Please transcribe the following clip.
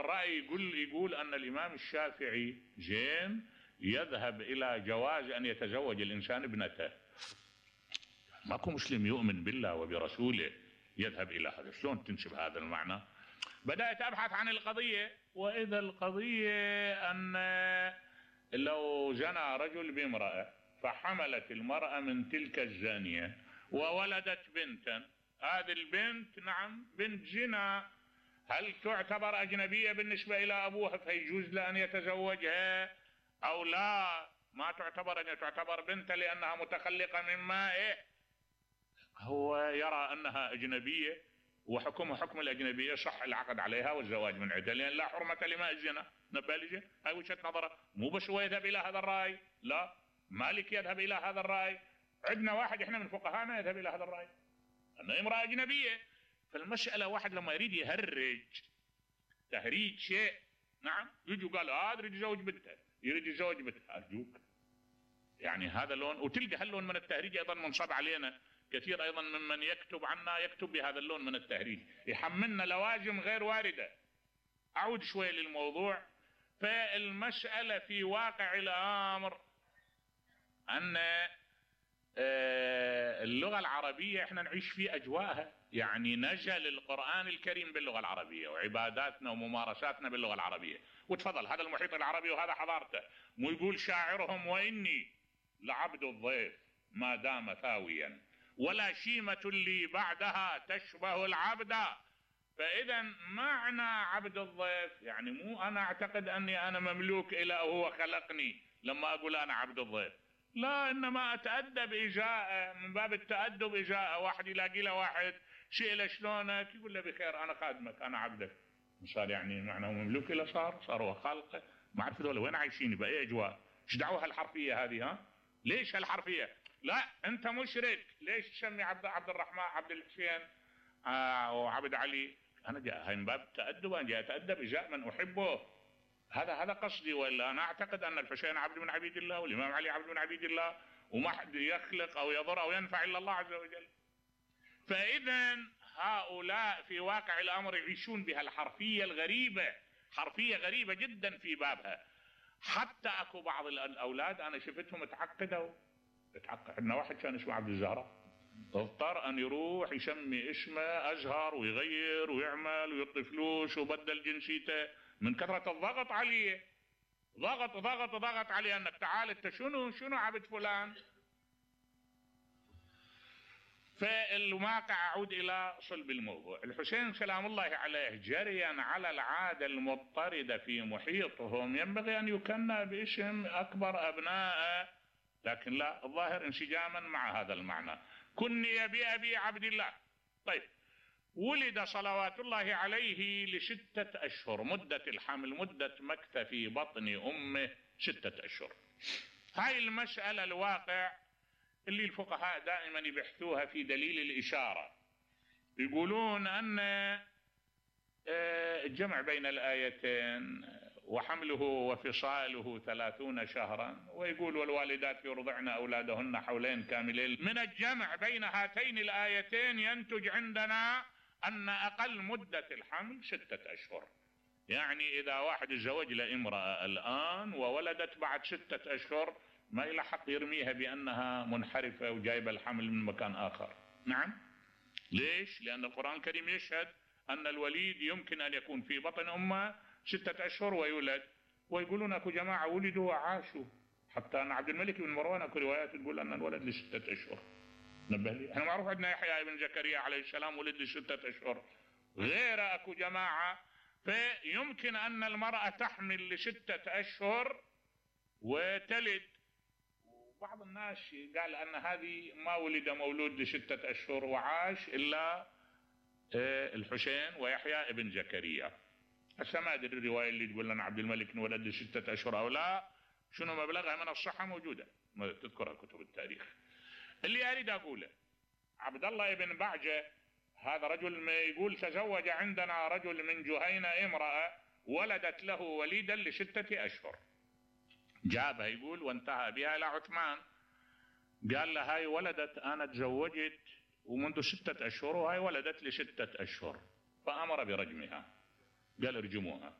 الرأي يقول أن الإمام الشافعي يذهب إلى جواز أن يتزوج الإنسان ابنته. ماكو مسلم يؤمن بالله وبرسوله يذهب إلى هذا، شلون تنسب هذا المعنى؟ بدأت أبحث عن القضية، وإذا القضية أن لو زنى رجل بامرأة فحملت المرأة من تلك الزانية وولدت بنتا، هذه البنت نعم بنت زنا، هل تعتبر أجنبية بالنسبة إلى أبوها فيجوز له أن يتزوجها أو لا؟ ما تعتبر، أن تعتبر بنتا لأنها متخلقة من مائه. هو يرى أنها أجنبية وحكمها حكم الأجنبية، صح العقد عليها والزواج من عدة لأن لا حرمة لماء الزنا. نبالجة هاي وجهة نظره، مو بس هو يذهب إلى هذا الرأي، لا مالك يذهب إلى هذا الرأي، عندنا واحد إحنا من فقهانا يذهب إلى هذا الرأي أنها امرأة أجنبية. فالمسألة واحد لما يريد يهرج تهريج شيء، نعم يجي قال هذا يريد يزوج بنته، يريد يزوج بنته، أرجوك يعني هذا لون. وتلقى هاللون من التهريج أيضا منصب علينا كثير أيضا ممن يكتب عنا، يكتب بهذا اللون من التهريج، يحملنا لوازم غير واردة. أعود شوي للموضوع. فالمسألة في واقع الأمر أن اللغة العربية احنا نعيش في أجواءها، يعني نزل القرآن الكريم باللغة العربية وعباداتنا وممارساتنا باللغة العربية. وتفضل هذا المحيط العربي وهذا حضارته، مو يقول شاعرهم وإني لعبد الضيف ما دام ثاويا ولا شيمة لي بعدها تشبه العبد. فإذا معنى عبد الضيف يعني مو أنا أعتقد أني أنا مملوك إلى هو خلقني لما أقول أنا عبد الضيف، لا، إنما أتأدب إجاءه، من باب التأدب إجاءه. واحد يلاقي له واحد شيء شلونك يقول له بخير أنا خادمك أنا عبدك، صار يعني معناه مملوك إلى صار هو خالقه. ما أعرف ذولا وين عايشين بأي أجواء، إيش دعوة هالحرفية هذه؟ ها ليش هالحرفية؟ لا أنت مشرك، ليش تسمي عبد الرحمن عبد الحسين وعبد علي؟ أنا جاء هاي من باب التأدب، أنا جاء أتأدب إجاء من أحبه، هذا قصدي. ولا أنا أعتقد أن الحسين عبد من عبيد الله والإمام علي عبد من عبيد الله وما حد يخلق أو يضر أو ينفع إلا الله عز وجل. فإذا هؤلاء في واقع الأمر يعيشون بها الحرفية الغريبة، حرفية غريبة جدا في بابها. حتى أكو بعض الأولاد أنا شفتهم تعقد. عندنا واحد كان اسمه عبد الزهراء، اضطر أن يروح يسمي اسمه أزهر ويغير ويعمل ويعطي فلوس وبدل جنسيته من كثرة الضغط عليه. ضغط عليه أنك تعال أنت شنو عبد فلان. فالواقع أعود إلى صلب الموضوع. الحسين سلام الله عليه جريا على العادة المضطردة في محيطهم ينبغي أن يكنى باسم أكبر أبنائه، لكن لا، الظاهر انسجاما مع هذا المعنى. كني بأبي عبد الله. طيب، ولد صلوات الله عليه ل6 أشهر، مدة الحمل مدة مكث في بطن أمه 6 أشهر. هاي المسألة الواقع اللي الفقهاء دائما يبحثوها في دليل الإشارة، يقولون أن الجمع بين الآيتين وحمله وفصاله 30 شهرا، ويقول والوالدات يرضعن أولادهن حولين كاملين، من الجمع بين هاتين الآيتين ينتج عندنا أن أقل مدة الحمل 6 أشهر. يعني إذا واحد تزوج لامرأة الآن وولدت بعد 6 أشهر ما إلى حق يرميها بأنها منحرفة وجايبة الحمل من مكان آخر. نعم، ليش؟ لأن القرآن الكريم يشهد أن الوليد يمكن أن يكون في بطن أمه 6 أشهر ويولد. ويقولون أكو جماعة ولدوا وعاشوا، حتى أن عبد الملك بن مروان أكو روايات تقول أن الولد ل6 أشهر. نبه لي، احنا معروف عندنا يحيى بن زكريا عليه السلام ولد ل6 أشهر، غير أكو جماعة. فيمكن أن المرأة تحمل ل6 أشهر وتلد. وبعض الناس قال أن هذه ما ولد مولود ل6 أشهر وعاش إلا الحسين ويحيى بن زكريا. هسه ما أدري الرواية اللي تقول لنا عبد الملك ولد ل6 أشهر أو لا، شنو مبلغها من الصحة موجودة تذكرها كتب التاريخ. اللي أريد أقوله، عبد الله بن بعجة هذا رجل ما يقول تزوج عندنا رجل من جهينة امرأة ولدت له وليدا ل6 أشهر، جابها يقول وانتهى بها إلى عثمان، قال له هاي ولدت أنا تزوجت ومنذ 6 أشهر وهاي ولدت ل6 أشهر، فأمر برجمها، قال ارجموها.